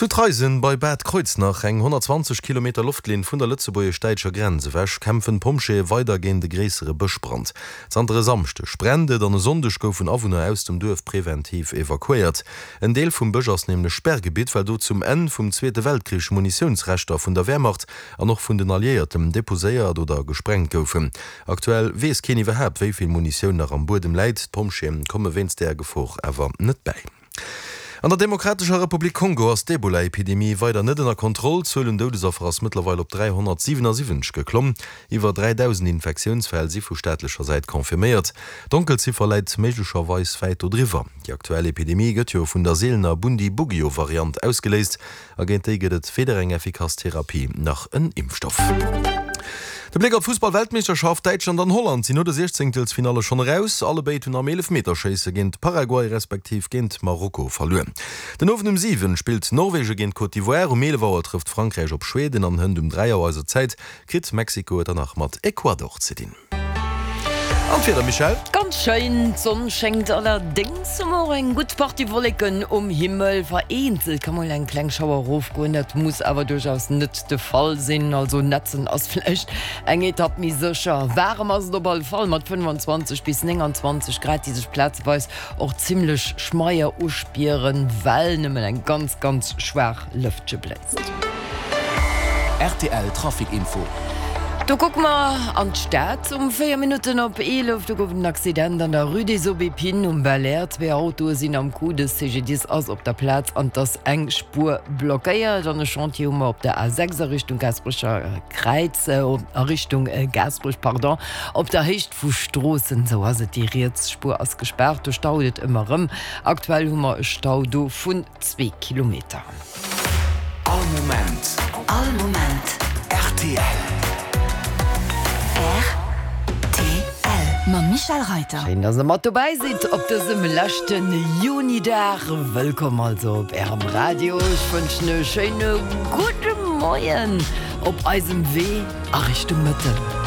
Zu Traisen bei Bad Kreuznach, eng 120 Kilometer Loftlinn vun der lëtzebuergesch-däitscher Grenz ewech, kämpfen d'Pompjeeë weider géint e gréissere Bëschbrand. Zanter e Samschdeg brennt et an e Sonndeg goufen Awunner aus dem Duerf preventiv evakuéiert. En Deel vum Bësch ass nämlech Sperrgebitt, well do zum Enn vum Zweete Weltkrich Munitiounsreschter vun der Wehrmacht an och vun den Alliéierten deposéiert oder gesprengt goufen. Aktuell weess keen iwwerhaapt, wéi vill Munitioun nach am Buedem läit. D'Pompjeeë komme wéinst där Gefor awer net bäi. An der Demokratescher Republik Kongo ass d'Ebola-Epidemie weider net ënner Kontroll. D'Zuel un Doudesaffer ass mëttlerweil op 377 geklomm. Iwwer 3.000 Infektiounsfäll si vu staatlecher Säit confirméiert. D'Donkelziffer läit méiglecherweis wäit dodriwwer. Déi aktuell Epidemie gëtt jo vun der seelener Bundibugyo-Variant ausgeléist. A géint déi gëtt et weder eng effikass Therapie nach en Impfstoff. De Bléck op d'Fussball-Weltmeeschterschaft, Däitschland an Holland sinn no de Siechzéngtelsfinalle schonn eraus. Allebéid hunn am Eelefmeterschéisse géint Paraguay respektiv géint Marokko verluer. Den Owend um 7 spillt Norwegen géint Côte d'Ivoire, um 11 Auer trëfft Frankräich op Schweden an hënt um 3 Auer eiser Zäit kritt Mexiko et dann nach mat Ecuador ze dinn. An d'Wieder, Michèle? Ganz schéin, d'Sonn schéngt, allerdéngs hu mer och eng gutt Partie Wolleken um Himmel. Vereenzelt ka mol eng kleng Schauer erofgoen, dat muss awer duerchaus net de Fall sinn. Also nätzen ass vläicht eng Etapp méi sécher. Waarem ass et op alle Fall mat 25 bis 29 Grad, déi sech plazeweis och zimmlech schmeier uspieren, well nëmmen eng ganz, ganz schwaach Lëftche bléist. Rtl Trafic Info. Do kucke mer an d'Stad um 4 Minutten op 11. Do gouf et en Accident an der Rue des Aubépines um Belair. Zwee Autoe sinn am Coup. De CGDIS ass op der Plaz an et ass eng Spuer blockéiert. An e Chantier hu mer op der A6 a Richtung Gaasperecher Kräiz, a Richtung Gaasperech, pardon, op der Héicht vu Stroossen. Esou ass et, déi riets Spuer ass gespaart. Do staut et ëmmer erëm. Aktuell hu mer e Stau do vun zwee Kilometer. All Moment. All Moment. Rtl. Rtl. Mam Michèle Reyter. Schéin, dass der mat dobäi sidd op dësem leschte Junidag. Wëllkomm also op Ärem Radio. Ech wënschen e schéine gudde Moien op eisem Wee a Richtung Mëtten.